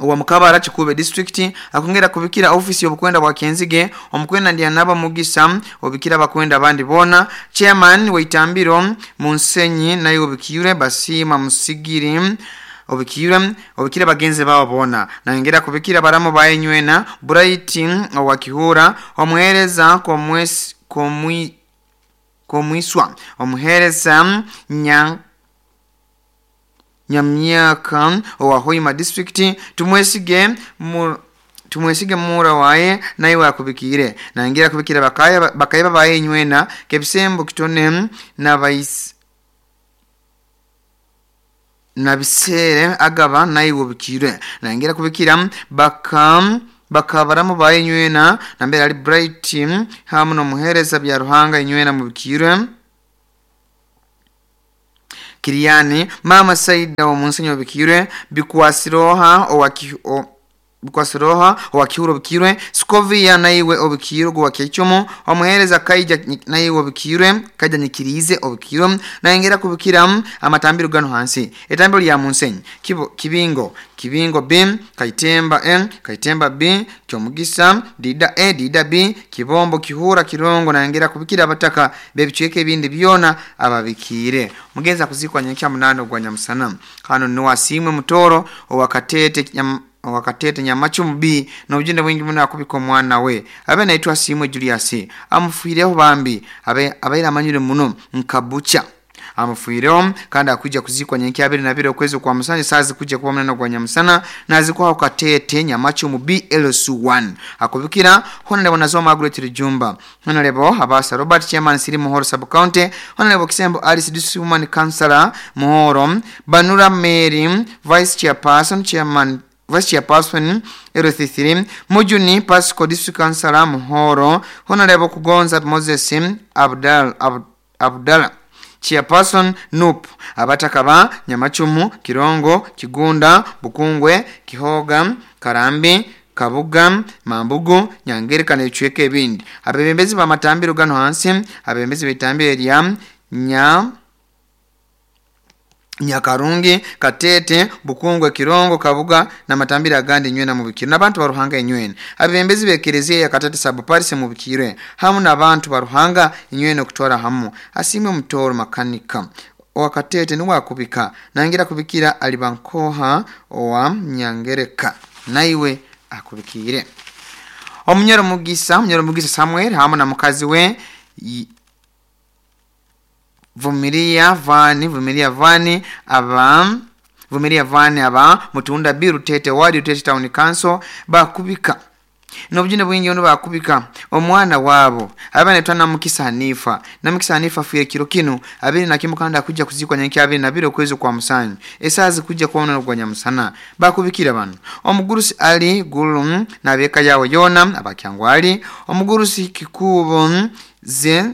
owa Mukabara Kikube district akongera kubikira office y'obukwenda bwa Kenzige omukwenda ndiya naba mugisa obikira bakwenda abandi bona chairman weitambiro Munsenyi nayo obikire basima musigiri obikira obikira bagenze babo bona nangera kubikira baramo bayenywena Bright owa Kihura omuhereza komwesi komwi komwiswa omuhereza nya Nyamyaka owa Hoima district tumwesige mu tumwesige mura waye naye akubikire nangira kubikira bakaya bakaya bayenywena kebisembo kitone na vice na bisere agaba naye obikire nangira kubikira baka bakabaramu bayenywena nambere ali Bright hamu no muhereza bya Ruhanga inywena mubikire Kiriani mama Saida wa Munsenyo bikirwe bikwasiroha owa bikwasiroha owa Kihuro bikirwe Skovia naiwe obikirwe gwa Kechomo omuhereza Kaija naiwe obikirwe Kaija nikirize obikirwe naengera kubikira amatambiro gano hansi etambiro lya Munsenyi Kibo, Kibingo Kibingo B Kaitemba N Kaitemba B Kyomugisa Dida A Dida B Kibombo Kihura Kirongo naengera kubikira abataka bebichweke ebindi byona ababikire mugenza kuzikwa nyenkya munano gwa nyamusana kano niwasimwe mutoro owakatete nyam, owakatete nyamachumu B na ujinde wingi muno akubika omwana we abe naitwa Simwe Julius amufuireho bambi abe abaira amanyire muno nkabucha amufuireho kandi akuja kuzikwa nyenkya abiri na biri okwezi kwa musanje sazi kuja kuba munano gwa nyamusana nazikwa katete nyamachumu B L S one akubikira Honorable Nazoma Margaret Rijumba Honorable Abasa Robert Chairman Siri Muhoro Sub County Honorable Kisembo Alice District Woman Councillor Muhoro Banura Mary Vice Chairperson Chairman Vice Chairperson L C three Mujuni Pasco District Councillor Muhoro Honorable Kugonza Moses Abdal Ab, Abdallah Chairperson N U P abatakaba Nyamachumu Kirongo Kigunda Bukungwe Kihoga Karambi Kabuga Mambugu Nyangereka n'echweke ebindi abebembezi bamatambiro gano hansi abebembezi betambiro lya nya Nyakarungi Katete Bukungwe Kirongo Kabuga na matambira agandi nywena mubikiro n'abantu baruhanga inywena abebembezi bekereziya ya Katete sub Paris mubikirwe hamu n'abantu baruhanga inywena okutwara hamu asimwe mutoro makanika owa Katete niwe akubika nangira kubikira alibankoha owa Nyangereka naiwe akubikire omunyoro mugisa omunyoro mugisa Samuel hamu na mukazi we Vumilia Vani Vumilia Vani aba Vumilia Vani aba Mutunda B Rutete wadi Rutete Town Council bakubika nobujine bwingi ono bakubika omwana wabo abana twana mukisa Hanifa na mukisa Hanifa afuye kiro kino abiri na kimukanda kuja kuzikwa nyenki abiri na biro kwezo kwa musanyi esazi kuja kuona gwa nyamusana bakubikira bano omugurusi ali gulum nabeka yawo yona abakyangwali omugurusi kikubo ze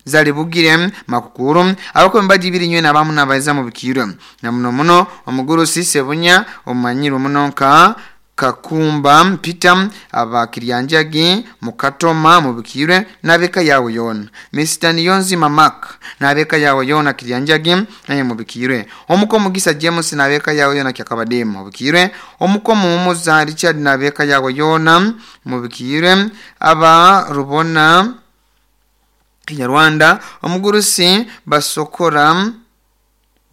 zalibugire makukuru abako mbaji biri nywe nabamu nabaiza mu bikiro na muno muno omugurusi sebunya omanyiro munonka Kakumba Peter abakiryanjagi mukatoma mubikire nabeka yawe yona Mister Niyonzi Mamak nabeka yawe yona kiryanjagi naye mubikire omuko mugisa James nabeka yawe yona kyakabademu mubikire omuko mumuza Richard nabeka yawe yona mubikire aba rubona Kinyarwanda omugurusi basokora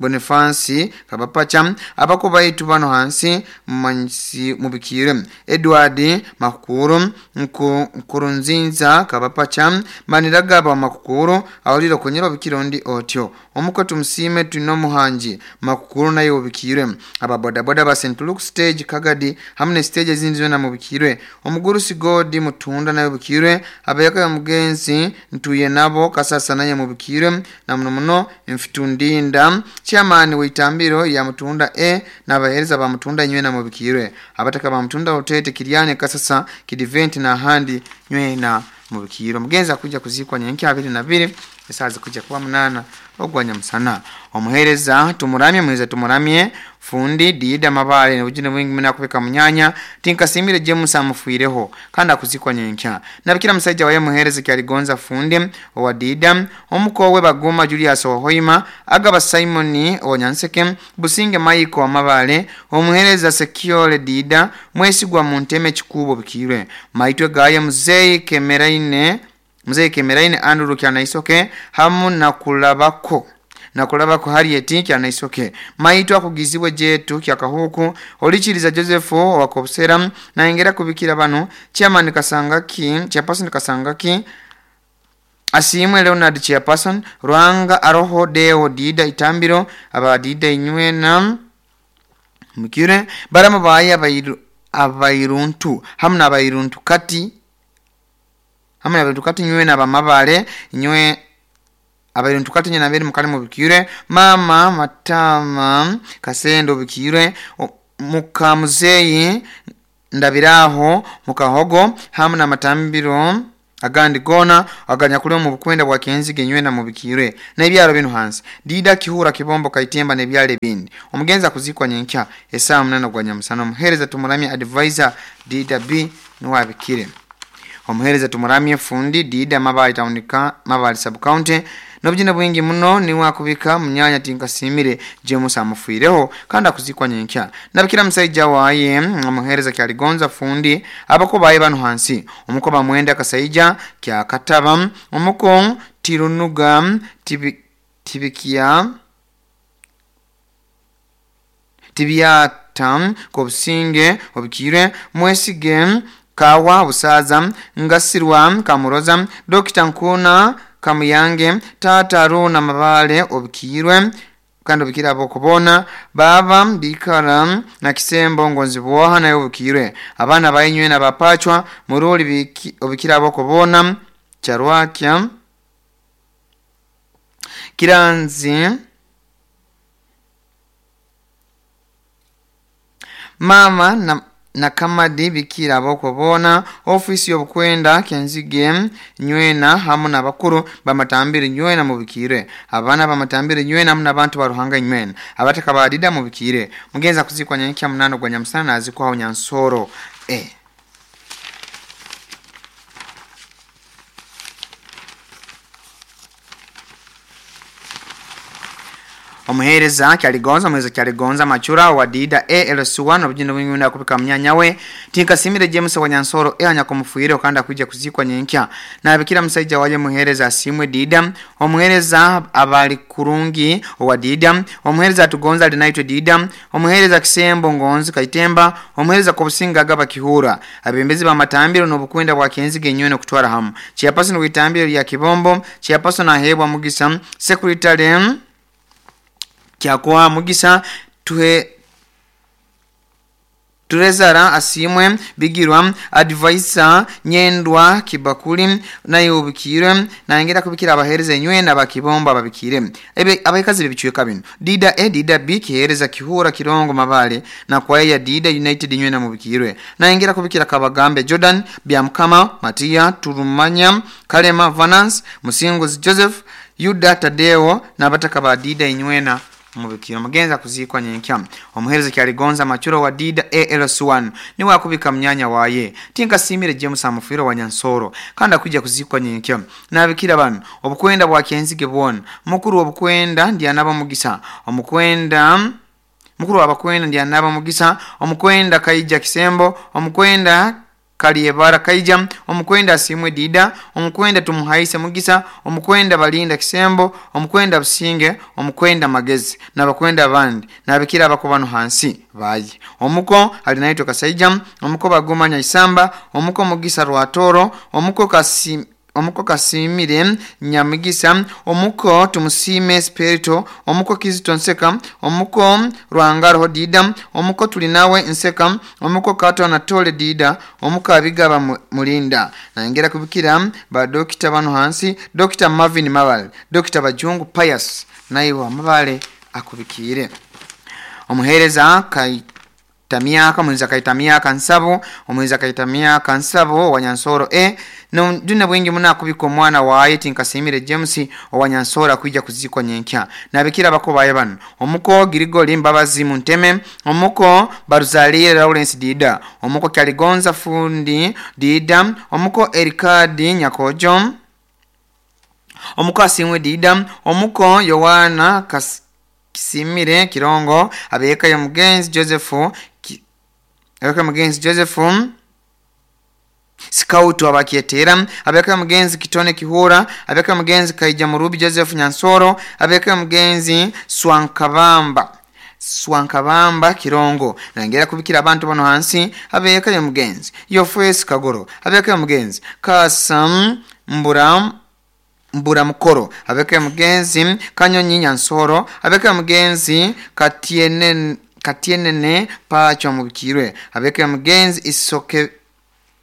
Bonifansi kabapacha abako baitu bano hansi mansi mubikire Edward Makukuru Nkurunzinza kabapacha maniragaba Makukuru awulira kunyira bikirondi otyo omuko tumusime tuno muhanji Makukuru nayo ubikire ababodaboda ba Saint Luke stage Kagadi hamne stage ezindi zona mubikire omugurusi Godi Mutunda nayo ubikire abayaka mugenzi ntuye nabo kasasa naye mubikire na muno muno mfitundinda chairman weitambiro ya Mutunda E n'abahereza ba Mutunda nywe na mubikire abataka ba Mutunda utete Kiriane kasasa kidivent na handi nywe na mubikiro mugenza kuja kuzikwa nyenki abiri na biri esazi kuja kuba munana ogwanya musana. Omuhereza tumuramye muhereza tumuramye fundi Dida Mabale n'obujune bwingi muna kubika munyanya tinkasimire James amufuireho kandi akuzikwa nyenkya. Nabikira musajja waye muhereza kyaligonza fundi owa Dida omukowe Baguma Julius Ohoima agaba Simoni Onyanseke Businge Maiko Mabale omuhereza Sekiole Dida mwesigwa mu nteme kikubo bikirwe maitwe gaye muzeyi Kemeraine muzeyi Kemeraine Andrew Kyanaisoke hamu na kulabako na kulabako Harriet Kyanaisoke maitwa akugizibwe jetu kyakahuku olichiriza Joseph wakobsera na ingera kubikira bano chairman Kasangaki chairperson Kasangaki Asimwe Leonard chairperson Rwanga Aroho Deo Dida Itambiro aba Dida Inywena mukire barama baye abayiru abayiruntu hamna abayiruntu kati hamna abayiruntu kati nywena abamabale nywe abayiruntu kati nyena beri mukali mubikire mama matama kasendo bikire mukamuzeyi ndabiraho mukahogo hamna matambiro agandi gona aganyakule mu bukwenda bwa Kenzige nywena mubikire na ebyalo bino hansi Dida Kihura Kibombo Kaitemba ne byale bindi. Omugenza kuzikwa nyenkya esaa munana gwa nyamusana. Omuhereza tumuramye advisor Dida B nuwabikire. Omuhereza tumuramye fundi Dida Mabali taunika Mabali sub county nobujina bwingi muno ni wakubika munyanya tinkasimire James amufuireho kandi akuzikwa nyenkya. Nabikira musajja waye omuhereza kyaligonza fundi abako baye bano hansi omukoba mwenda kasaija kya kataba omuko tirunuga tibi, tibikia tibiata kobusinge obikire mwesige kawa busaza ngasirwa kamuroza Dokita Nkuna Kamuyange tata Runa Mabale obikirwe kandi obikira abokubona baba bikara na kisembo ngonzi bwoha nayo obikirwe abana bayinywe na bapachwa muruli obikira abokubona charwakya kiranzi mama na nakamadi bikira abokubona ofisi yobukwenda Kenzige nywena hamu nabakuru bamatambire nywena mubikire abana bamatambire nywena hamu nabantu baruhanga nywena abataka badida mubikire. Mugenza kuzikwa nyenkya munano gwa nyamusana azikwa Nyansoro eh Omuhereza kyaligonza omuhereza kyaligonza machura wa Dida E L S one obujinda bwingi kubika munyanya we tinkasimire James wa Nyansoro e anyakomufuire okanda kuja kuzikwa nyenkya. Nabikira musajja waje muhereza asimwe Dida omuhereza abali kurungi wa Dida omuhereza atugonza linaitwe Dida omuhereza kisembo ngonzi Kaitemba omuhereza kobusinga agaba Kihura abembezi ba matambiro n'obukwenda bwa Kenzige nywene kutwara hamu chairperson witambiro ya Kibombo chairperson ahebwa Mugisa secretary kyakoa Mugisa tuhe Turezara asimwe bigirwa advisor nyendwa kibakuli nayo ubikire na ngera kubikira abahereza nywe na bakibomba babikire ebe abakazi bibichweka bino Dida A Dida B kihereza Kihura Kirongo Mabale na kwa ya Dida United nywe na mubikirwe na ngera kubikira Kabagambe Jordan Byamkama Matia Turumanya Kalema Vanance Musinguzi Joseph Yuda Tadeo na bataka ba Dida inywena mubikiro. Mugenza kuzikwa nyenkya. Omuhereza kyaligonza machuro wa Dida A L S one ni wakubika mnyanya waye tinkasimire James amufiro wa Nyansoro kandi akujja kuzikwa nyenkya. Nabikira bano obukwenda bwa Kenzige bwona mukuru obukwenda ndi anaba Mugisa omukwenda mukuru abakwenda ndi anaba Mugisa omukwenda Kaija Kisembo omukwenda Kaliebara Kaija omukwenda asimwe Dida omukwenda tumuhaise Mugisa omukwenda Balinda Kisembo omukwenda Businge omukwenda Magezi nabakwenda abandi nabikira abakobano hansi bayi omuko alinaitwa Kasaija omuko Bagumanya Isamba omuko Mugisa Rwatoro omuko Kasi omuko Kasimire Nyamugisa omuko Tumusime Spirito omuko Kizito Nseka omuko Rwangaro Dida omuko Tulinawe Nseka omuko Kato Anatole Dida omuko Abigaba Mulinda na ngera kubikira ba Dokita bano hansi Dokita Marvin Mabale Dokita Bajungu Pius naiwa Mabale akubikire. Omuhereza kai Tamiaka mwenza kaita miaka nsabo omwenza kaita miaka nsabo wanyansoro e no juna bwingi muna kubika omwana waye tinkasimire James owanyansora kuija kuzikwa nyenkya nabikira bako baye bano omuko Girigoli Mbabazi Munteme omuko Baruzalire Lawrence Dida omuko Kyaligonza Fundi Dida omuko Erikadi Nyakojo omuko Asimwe Dida omuko Yohana Kas Kisimire Kirongo abeka ya mugenzi Joseph ki, abeka mugenzi Joseph Scout abakietera abeka mugenzi Kitone Kihura abeka mugenzi Kaija Murubi Joseph Nyansoro abeka mugenzi Swankabamba Swankabamba Kirongo nangera kubikira abantu bano hansi abeka ya mugenzi Yofes Kagoro abeka ya mugenzi Kasam Mburam Mbura mukoro abeka mugenzi Kanyonyi Nyansoro abeka mugenzi Katiene Katienene pacho mubikirwe abeka mugenzi isoke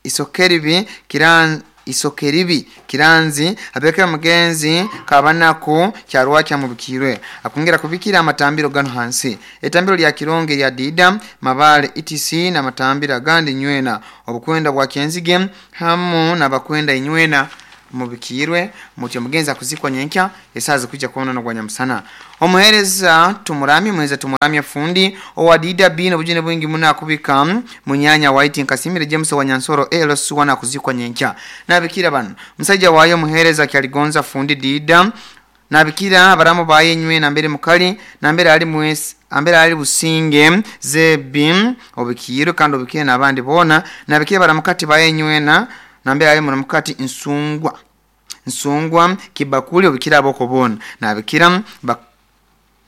isokeribi kiran isokeribi kiranzi abeka mugenzi Kabanaku kyarwa kya mubikirwe akongera kubikira amatambiro gano hansi etambiro lya Kironge lya Dida Mabale E T C na matambiro agandi nywena obukwenda bwa Kenzige hamu nabakwenda inywena mubikirwe mutyo mugenzi akuzikwa nyenkya esaza kujja kuona no gwanyamusana omuhereza tumurami muhereza tumurami fundi owa D W no bujine bwingi muna kubika munyanya White Nkasimire James wa Nyansoro L S wana kuzikwa nyenkya nabikira bano musajja wayo muhereza Kyaligonza fundi Dida nabikira abaramu baye nywe na mbere mukali na mbere ali mwesi ambere ali businge zebi obikirwe kandi obikire nabandi bona nabikira baramukati baye nywe na nambere ali muramukati nsungwa nsungwa kibakuli obikira aboko bona nabikira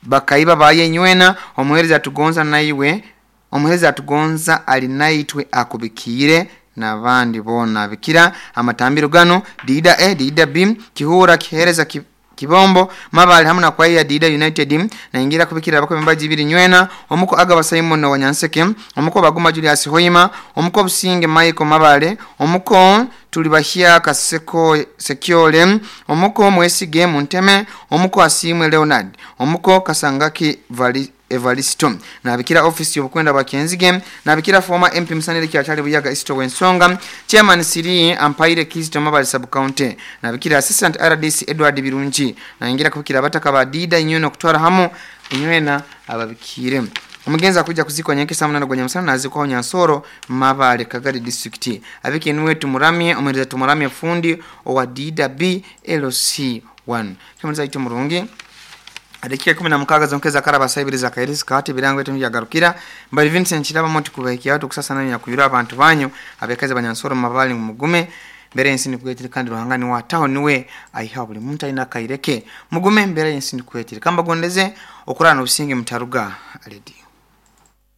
bakaiba baye nywena omuhereza atugonza naiwe omuhereza atugonza ali naitwe akubikire nabandi bona bikira amatambiro gano Dida A Dida B Kihura kihereza ki, Kibombo Mabali hamwe na kwaya Dida United na ingira kubikira abako membaji ibiri nywena omuko Agaba Simon wa Nyanseke omuko Baguma Julius Hoima omuko Businge Michael Mabale omuko Tulibahia Kaseko Sekyole omuko Mwesige Munteme omuko Asimwe Leonard omuko Kasangaki Vali Evaristo nabikira office yobukwenda bakenzige nabikira former M P Musanire Kyachali Buyaga Isto Wensonga chairman Siri Ampaire Kristo Mabali sub county nabikira assistant R D C Edward Birungi naingira kubikira bataka ba Dida inyono kutwara hamu inywena ababikire omugenzi akuja kuzikwa nyenke saa munana gwanyamusana nazikwa Nyansoro Mabale Kagari district abike niwe tumuramye omuhereza tumuramye fundi owa D W L C one kemeza ito murungi Adekika kumi na mukaga zonkeza karaba saibiri za kairisi kati birango yetu mjagarukira mbali Vincent Chilaba moti kubahikia watu kusasa nani ya kuyura abantu banyu abekazi banyansoro Mabali mugume mbere ensini kuetire kandi ruhanga ni wataho niwe aiha buli muntu alina kaireke mugume mbere ensini kuetire kamba gondeze okurana obusinge mutaruga aledi.